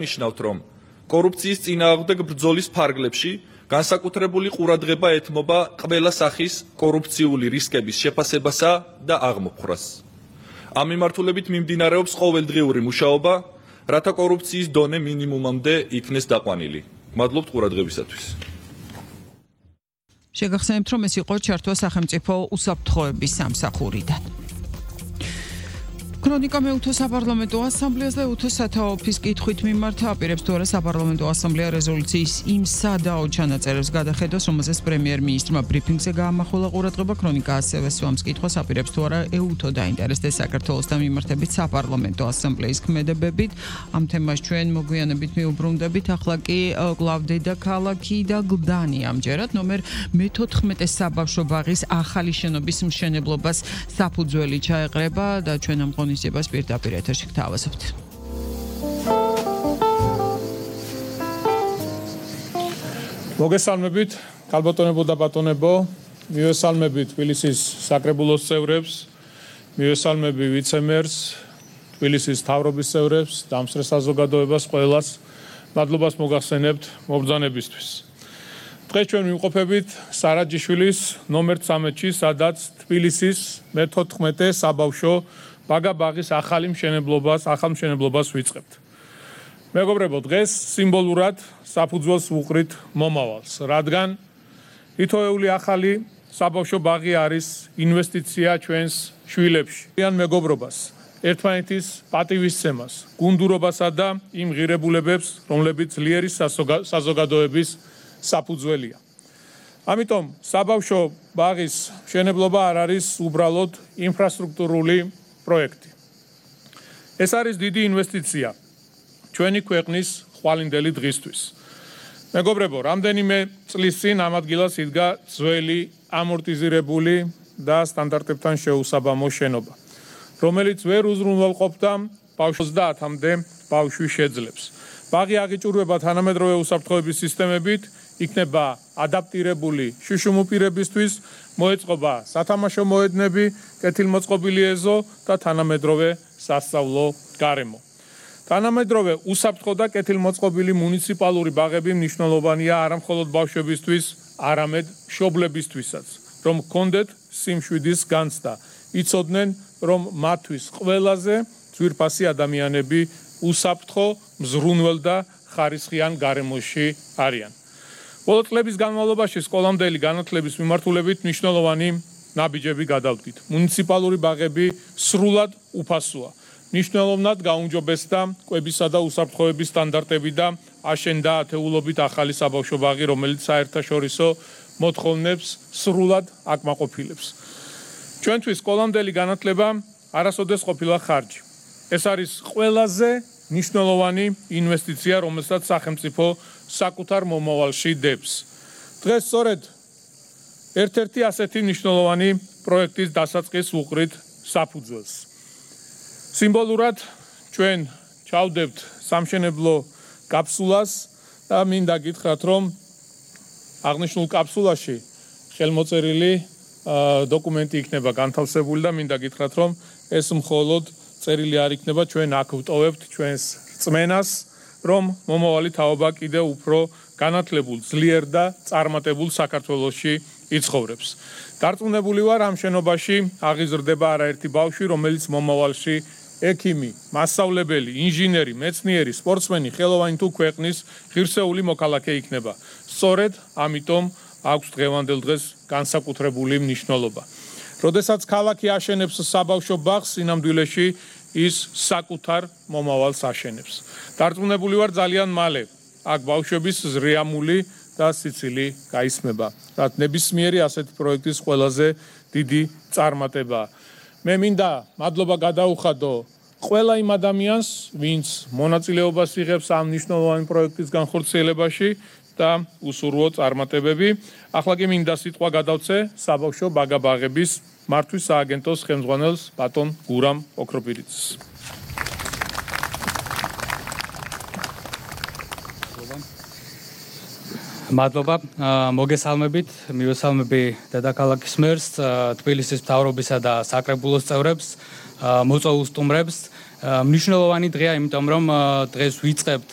ნიშნავთ, რომ კორუფციის წინააღმდეგ ბრძოლის ფარგლებში განსაკუთრებული ყურადღება ეთმობა ყველა სახის კორუფციული რისკების შეფასებასა და აღმოფხვრას. ამ მიმართულებით მიმდინარეობს ყოველდღიური მუშაობა, რათა კორუფციის დონე მინიმუმამდე იქნეს დაყვანილი. მადლობთ ყურადღებისათვის. შეგახსენებთ, რომ ეს იყო ჩართვა სახელმწიფო უსაფრთხოების სამსახურიდან. ქრონიკა მეუთო საპარლამენტო ასამბლეას და ეუთო სათაო ოფისის კითხვით მიმართა აპირებს თუ არა საპარლამენტო ასამბლეა რეზოლუციის იმ სადაო ჩანაწერებს გადახედოს, რომელზეც პრემიერ-მინისტრმა ბრიფინგზე გაამახვილა ყურადღება. ქრონიკა ასევე სვამს კითხვას აპირებს თუ არა ეუთო დაინტერესდეს საქართველოს და მიმართებით საპარლამენტო ასამბლეის ქმედებებით. ამ თემას ჩვენ მოგვიანებით მიუბრუნდებით. ახლა კი კვლავ დედაქალაქი და გლდანი ამჯერად ნომერ მე-14 საბავშვო ბაღის ახალი შენობის მშენებლობას საფუძველი ჩაეყრება და ჩვენ ამ ღონისძიებას პირდაპირ ეთერში გთავაზობთ. მოგესალმებით, ქალბატონებო და ბატონებო, მივესალმებით თბილისის საკრებულოს წევრებს, მივესალმები ვიცემერს, თბილისის მთავრობის წევრებს, დამსწრე საზოგადოებას ყველას, მადლობას მოგახსენებთ მობრძანებისთვის. დღეს ჩვენ ვიმყოფებით სარაჯიშვილის ნომერ 13-ში, სადაც თბილისის მე-14 საბავშვო ბაღის ახალ მშენებლობას ვიწყებთ. მეგობრებო, დღეს სიმბოლურად საფუძველს ვუყრით მომავალს, რადგან ითოეული ახალი საბავშვო ბაღი არის ინვესტიცია ჩვენს შვილებში. ან მეგობრობას, ერთმანეთის პატივისცემას, გუნდურობასა და იმ ღირებულებებს, რომლებიც ძლიერი საზოგადოების საფუძველია. ამიტომ საბავშვო ბაღის მშენებლობა არ არის უბრალოდ ინფრასტრუქტურული პროექტი. ეს არის დიდი ინვესტიცია ჩვენი ქვეყნის ხვალინდელი დღისთვის. მეგობრებო, რამდენიმე წლის წინ ამ ადგილას იდგა ძველი ამორტიზირებული და სტანდარტებთან შეუსაბამო შენობა, რომელიც ვერ უზრუნველყოფდა 30-მდე ბავშვი შეძლებს. ბაღი აღიჭურვება თანამედროვე უსაფრთხოების სისტემებით, იქნება ადაპტირებული შუშუმ პირებისთვის, მოეწყობა სათამაშო მოედნები, კეთილმოწყობილი ეზო და თანამედროვე სასწავლო გარემო. თანამედროვე უსაფრთხო და კეთილმოწყობილი მუნიციპალური ბაღები მნიშვნელოვანია არა მხოლოდ ბავშვებისთვის, არამედ მშობლებისთვისაც, რომ ჰქონდეთ სიმშვიდის განცდა, იცოდნენ, რომ მათთვის ყველაზე ძვირფასი ადამიანები უსაფრთხო, მზრუნველ და ხარისხიან გარემოში არიან. ბოლო წლების განმავლობაში სკოლამდელი განათლების მიმართულებით მნიშვნელოვანი ნაბიჯები გადავდგით. მუნიციპალური ბაღები სრულად უფასოა. მნიშვნელოვნად გაუმჯობესდა კვებისა და უსაფრთხოების სტანდარტები და აშენდა ათეულობით ახალი საბავშვო ბაღი, რომელიც საერთაშორისო მოთხოვნებს სრულად აკმაყოფილებს. ჩვენთვის სკოლამდელი განათლება არასოდეს ყოფილა ხარჯი. ეს არის ყველაზე მნიშვნელოვანი ინვესტიცია, რომელსაც სახელმწიფო საკუთარ მომავალში დებს. დღეს სწორედ ერთ-ერთი ასეთი მნიშვნელოვანი პროექტის დასაწყისს ვუყრით საფუძველს. სიმბოლურად ჩვენ ჩავდებთ სამშენებლო კაფსულას და მინდა გითხრათ, რომ აღნიშნულ კაფსულაში ხელმოწერილი დოკუმენტი იქნება განთავსებული და მინდა გითხრათ, რომ ეს მხოლოდ წერილი არ იქნება, ჩვენ აქ ვტოვებთ ჩვენს რწმენას, რომ მომავალი თაობა კიდევ უფრო განათლებულ, ძლიერ და წარმატებულ საქართველოში იცხოვრებს. დარწმუნებული ვარ, ამ შენობაში აღიზრდება არაერთი ბავშვი, რომელიც მომავალში ექიმი, მასწავლებელი, ინჟინერი, მეცნიერი, სპორტსმენი, ხელოვანი თუ ქვეყნის ღირსეული მოქალაქე იქნება. სწორედ ამიტომ აქვს დღევანდელ დღეს განსაკუთრებული მნიშვნელობა. როდესაც ქალაქი აშენებს საბავშვო ბაღს, სინამდვილეში ის საკუთარ მომავალს აშენებს. დარწმუნებული ვარ, ძალიან მალე აქ ბავშვების ზრიამული და სიცილი გაისმება. რაც ნებისმიერი ასეთი პროექტის ყველაზე დიდი წარმატებაა. მე მინდა მადლობა გადაუხადო ყველა იმ ადამიანს, ვინც მონაწილეობას იღებს ამ მნიშვნელოვანი პროექტის განხორციელებაში და უსურვო წარმატებები. ახლა კი მინდა სიტყვა გადავცე საბავშვო ბაღების მართვის სააგენტოს ხელმძღვანელს ბატონ გურამ ოქროპირიძეს. მადლობა, მოგესალმებით, მივესალმები დედაქალაქის მერს, თბილისის მთავრობისა და საკრებულოს წევრებს, მოწვეულ სტუმრებს მნიშვნელოვანი დღეა, იმიტომ რომ დღეს ვიწყებთ